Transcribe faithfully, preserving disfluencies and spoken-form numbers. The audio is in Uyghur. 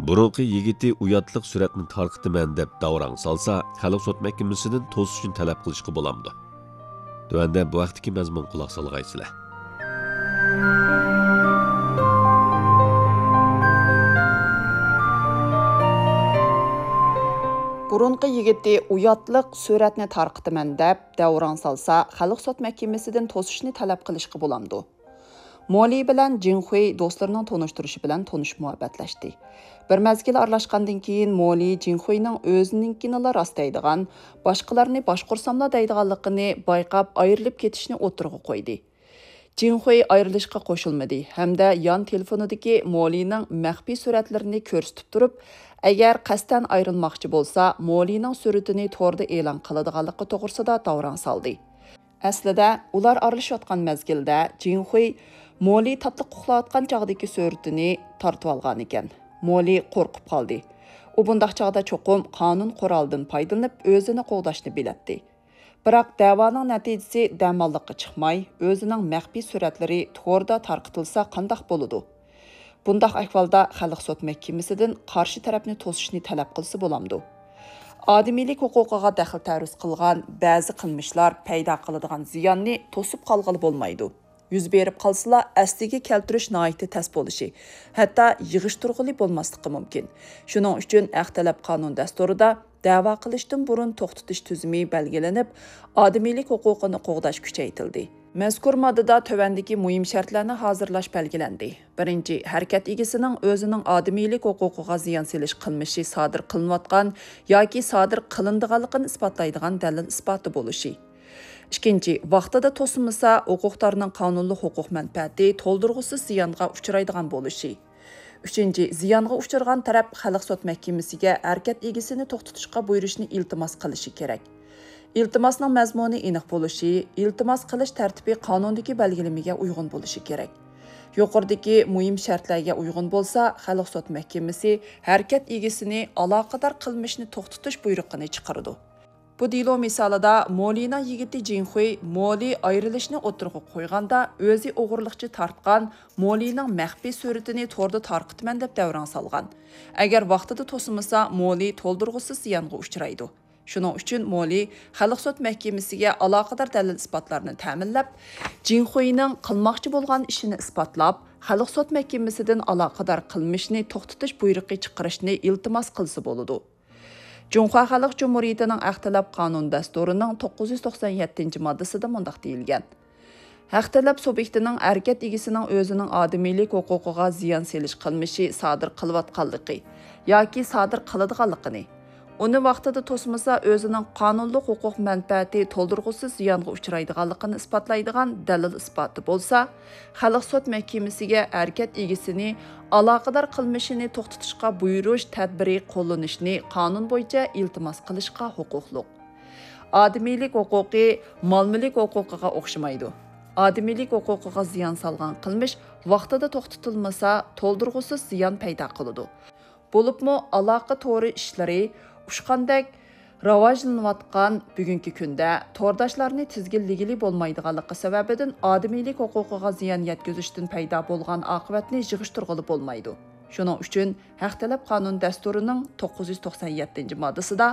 بۇرۇنقى يىگىتى ئۇياتلىق سۈرەتنى تارقىتىمەن دەپ داۋراڭ سالسا، خەلق سوت مەھكىمىسىدىن توسۇشنى تەلەپ قىلىشقا بولامدۇ؟ تۆۋەندە بۇ ھەقتىكى مەزمۇنغا قۇلاق سالغايسىلەر. بۇرۇنقى يىگىتى ئۇياتلىق سۈرەتنى تارقىتىمەن دەپ داۋراڭ سالسا، خەلق سوت مەھكىمىسىدىن توسۇشنى تەلەپ قىلىشقا بولامدۇ؟ مولى بىلەن جىڭخۇي دوستلىرىنىڭ تونۇشتۇرۇشى بىلەن تونۇشۇپ مۇھەببەتلەشتى. بىر مەزگىل ئارىلاشقاندىن كېيىن مولى جىڭخۇينىڭ ئۆزىنىڭكىنىلا راست دەيدىغان، باشقىلارنى باشقۇرساملا دەيدىغانلىقىنى بايقاپ ئايرىلىپ كېتىشنى ئوتتۇرىغا قويدى. جىڭخۇي ئايرىلىشقا قوشۇلمىدى ھەمدە يان تېلېفونىدىكى مولىنىڭ مەخپىي سۈرەتلىرىنى كۆرسىتىپ تۇرۇپ، ئەگەر قەستەن ئايرىلماقچى بولسا، مولىنىڭ سۈرىتىنى توردا ئېلان قىلىدىغانلىقى توغرىسىدا داۋراڭ سالدى. ئەسلىدە، ئۇلار ئارىلىشىۋاتقان مەزگىلدە جىڭخۇي مولى تاتلىق ئۇخلاۋاتقان چاغدىكى سۈرىتىنى تارتىۋالغانىكەن. مولى قورقۇپ قالدى. ئۇ بۇنداق چاغدا چوقۇم قانۇن قورالىدىن پايدىلىنىپ ئۆزىنى قوغداشنى بىلەتتى. بىراق دەۋانىڭ نەتىجىسى دەماللىققا چىقماي، ئۆزىنىڭ مەخپىي سۈرەتلىرى توردا تارقىتىلسا قانداق بولىدۇ؟ بۇنداق ئەھۋالدا خەلق سوت مەھكىمىسىدىن قارشى تەرەپنى توسۇشنى تەلەپ قىلسا بولامدۇ؟ ئادىمىيلىك ھوقۇقىغا دەخلى تەرۇز قىلغان بەزى قىلمىشلار پەيدا قىلىدىغان زىياننى توسۇپ قالغىلى بولمايدۇ. يۈز بېرىپ قالسىلا، ئەسلىگە كەلتۈرۈش ناھايىتى تەس بولۇشى، ھەتتا يىغىشتۇرغىلى بولماسلىقى مۇمكىن. شۇنىڭ ئۈچۈن ھەق تەلەپ قانۇن دەستۇرىدا دەۋا قىلىشتىن بۇرۇن توختىتىش تۈزۈمى بەلگىلىنىپ، ئادىمىيلىك ھوقۇقىنى قوغداش كۈچەيتىلدى. مەزكۇر ماددىدا تۆۋەندىكى مۇھىم شەرتلەرنى ھازىرلاش بەلگىلەندى. بىرىنچى، ھەرىكەت ئىگىسىنىڭ ئۆزىنىڭ ئادىمىيلىك ھوقۇقىغا زىيان سېلىش قىلمىشى سادىر قىلىنىۋاتقان ياكى سادىر قىلىنىدىغانلىقىنى ئىسپاتلايدىغان دەلىل ئىسپاتى بولۇشى. ئىككىنچى، ۋاقتىدا توسمىسا، ھوقۇقدارنىڭ قانۇنلۇق ھوقۇق مەنپەئەتى تولدۇرغۇسىز زىيانغا ئۇچرايدىغان بولۇشى. ئۈچىنچى، زىيانغا ئۇچرىغان تەرەپ خەلق سوت مەھكىمىسىگە ھەرىكەت ئىگىسىنى توختىتىشقا بۇيرۇشنى ئىلتىماس قىلىشى كېرەك. ئىلتىماسنىڭ مەزمۇنى ئېنىق بولۇشى، ئىلتىماس قىلىش تەرتىپى قانۇندىكى بەلگىلىمىگە ئۇيغۇن بولۇشى كېرەك. يۇقىرىدىكى مۇھىم شەرتلەرگە ئۇيغۇن بولسا، خەلق سوت مەھكىمىسى ھەرىكەت ئىگىسىنى ئالاقىدار قىلمىشنى توختىتىش بۇيرۇقىنى چىقىرىدۇ. بۇ دېلو مىسالىدا مولىنىڭ يىگىتى جىنخۇي مولى ئايرىلىشنى ئوتتۇرىغا قويغاندا، ئۆزى ئوغرىلىقچە تارتقان مولىنىڭ مەخپىي سۈرىتىنى توردا تارقىتىمەن دەپ دەۋراڭ سالغان. ئەگەر ۋاقتىدا توسمىسا، مولى تولدۇرغۇسىز زىيانغا ئۇچرايدۇ. شۇنىڭ ئۈچۈن مولى خەلق سوت مەھكىمىسىگە ئالاقىدار دەلىل-ئىسپاتلارنى تەمىنلەپ، جىنخۇينىڭ قىلماقچى بولغان ئىشىنى ئىسپاتلاپ، خەلق سوت مەھكىمىسىدىن ئالاقىدار قىلمىشنى توختىتىش بۇيرۇقى چىقىرىشنى ئىلتىماس قىلسا بولىدۇ. جۇڭخۇا خەلق جۇمھۇرىيىتىنىڭ ھەق تەلەپ قانۇن دەستۇرىنىڭ توققۇز يۈز توقسان يەتتىنچى ماددىسىدا مۇنداق دېيىلگەن: ھەق تەلەپ سۇبيېكتىنىڭ ھەرىكەت ئىگىسىنىڭ ئۆزىنىڭ ئادىمىيلىك ھوقۇقىغا زىيان سېلىش قىلمىشى سادىر قىلىۋاتقانلىقى ياكى سادىر قىلىدىغانلىقىنى، ئۇنى ۋاقتىدا توسمىسا، ئۆزىنىڭ قانۇنلۇق ھوقۇق مەنپەئەتى تولدۇرغۇسىز زىيانغا ئۇچرايدىغانلىقىنى ئىسپاتلايدىغان دەلىل-ئىسپاتى بولسا، خەلق سوت مەھكىمىسىگە ھەرىكەت ئىگىسىنى ئالاقىدار قىلمىشىنى توختىتىشقا بۇيرۇش تەدبىرى قوللىنىشنى قانۇن بويىچە ئىلتىماس قىلىشقا ھوقۇقلۇق. ئادىمىيلىك ھوقۇقى مال-مۈلۈك ھوقۇقىغا ئوخشىمايدۇ. ئادىمىيلىك ھوقۇقىغا زىيان سالغان قىلمىش ۋاقتىدا توختىتىلمىسا، تولدۇرغۇسىز زىيان پەيدا قىلىدۇ. بولۇپمۇ ئالاقە تورى ئىشلىرى ئۇچقاندەك راۋاجلىنىۋاتقان بۈگۈنكى كۈندە تورداشلارنى تىزگىنلىگىلى بولمايدىغانلىقى سەۋەبىدىن ئادىمىيلىك ھوقۇقىغا زىيان يەتكۈزۈشتىن پەيدا بولغان ئاقىۋەتنى يىغىشتۇرغىلى بولمايدۇ. شۇنىڭ ئۈچۈن ھەق تەلەپ قانۇن دەستۇرىنىڭ توققۇز يۈز توقسان يەتتىنچى ماددىسىدا